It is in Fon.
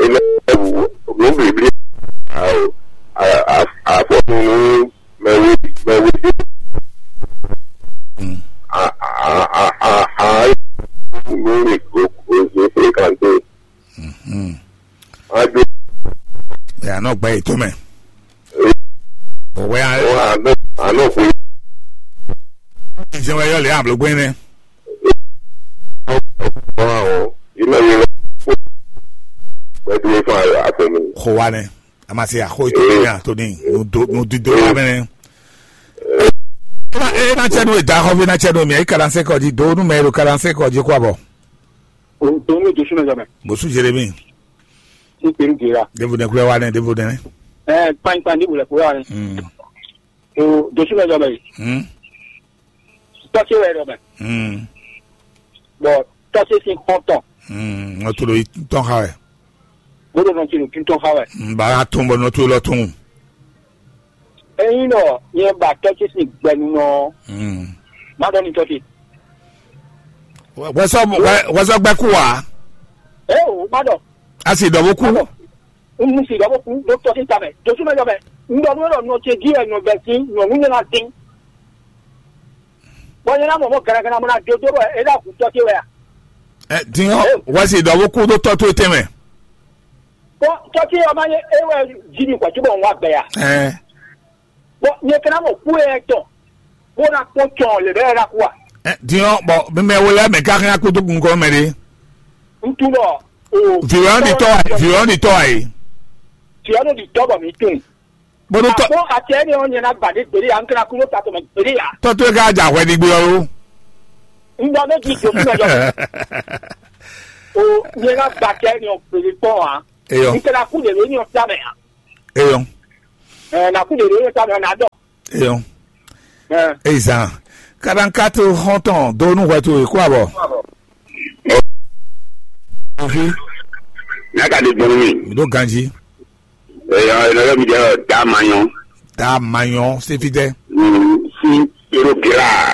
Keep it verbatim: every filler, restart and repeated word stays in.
Nǔ blǐblí afɔnu nú mɛwé mɛwé dé. Nú mi o o o fréquenté. Ado. Ɛ anɔ gbɛ yìí tó mɛ. Òwe a. Anɔ anɔ kò. Ìjẹun ẹyọ lè àbúrò gbé ní. Ɔn ɔn. Ìmọ̀ yìí lọ. Pẹ̀lú ìfọ̀n àfẹ̀mí. Kò wá ní. A ma se àkó ètò ní àtò ní. Nùdó nùdídó wá mẹ́rin. Ena tsɛ nu eda xɔ vi na tsɛ nu mi ayi kalanse kɔ di do nu mɛ ero kalanse kɔ di kɔ abɔ. O do nu Jesu na jamɛ. Bosu Jeremi. Ni peru gera. Devo ne kulɛ wa ne devo ne. Ɛ kpankpan ni bulɛ kura ne. Mm. O Jesu na jamɛ. Mm. Tɔse wɛ dɔ mɛ. Mm. Bɔn tɔse sin xɔntɔn. Mm. Ŋɔ to lo yi tɔn xa wɛ. Bó ɖo nɔ ti ɖo títɔn xa wɛ. Ba a tɔn bɔ nɔ to lɔ tɔn. Eyin nɔ nyɛ ba tɔ́ ce sín gbɛnu nɔ. Má ɖɔ ní tɔ́ ce. Wɛsɔ wɛsɔ gbɛ kú wa. Ee o, má ɖɔ. A sì dɔ bó kú. Má ɖɔ. N mu sì dɔ bó kú ɖó tɔ́ ce ta mɛ. Josú mɛ jɔ mɛ. N ɖɔ nú ɖɔ nɔ ce jí wɛ nɔ bɛ sín nyɔ̌nu nyɛ ná dín. Bɔ nyɛ ná mɔ mɔ gɛrɛgɛrɛ mɔ ná dodó bɔ é ná hu tɔ́ ce wɛ a? Ɛ din ɔ, wɛsi dɔ bó kú ɖó tɔ́ tó tɛn mɛ. Bɔ tɔ́ ce ɔ́ ma nyɛ é wɛ jí mi hwɛ̌ cóbɔ un wá gbɛ a? Ɛ Bɔ nyɛ ka ná mɔ kú e tɔn bó ná kpɔ́n cɔn lě bɛ́ ná kú a? Ɛ din ɔ, bɔ mi mɛ wo lɛ mɛ ka hɛn akpó dó gun kɔ mɛ ɖé. Un tunɔ o. Vǐwɛ ɔ́ ɖi tɔ́ wá yìí, vǐwɛ ɔ́ ɖi tɔ́ wá yìí. Vǐwɛ ɔ́ ɖi tɔ́ bɔ mǐ tunun. Bó ɖó tɔ́. Àmọ́ àti ẹni ɔ́ nyɛ ná gbà dé gbèdé yá, un kɛra kú ló ta tɔmɛ gbèdé yá. Tɔ́ tó é ká jà hwɛ ɖi gbé ɔ́ lo. Un ɖɔ méjì tó fún ọjọ́. O nyɛ ná gbà àti ẹni ɔ́ gbèdé kpɔ́n ǎ. Eyɔ. Un kɛra kú lè lóyún ɔ́ fíà mɛ ǎ. Eyɔ. Ɛ na kú lè lóyún ɔ́ fíà mɛ ɔ́ ná dɔ. Eyɔ. Ɛ Eyi zan. Kaɖankató xɔ́ntɔn dó nú hwɛ towe kó abɔ. Nya ka ɖe gbɔn nú mi? Mi ɖó ganjí. Eyɔ, enɔ yɔ mi ɖe dá manyɔ. Dá manyɔ séfítɛ. Mm, si ero gira.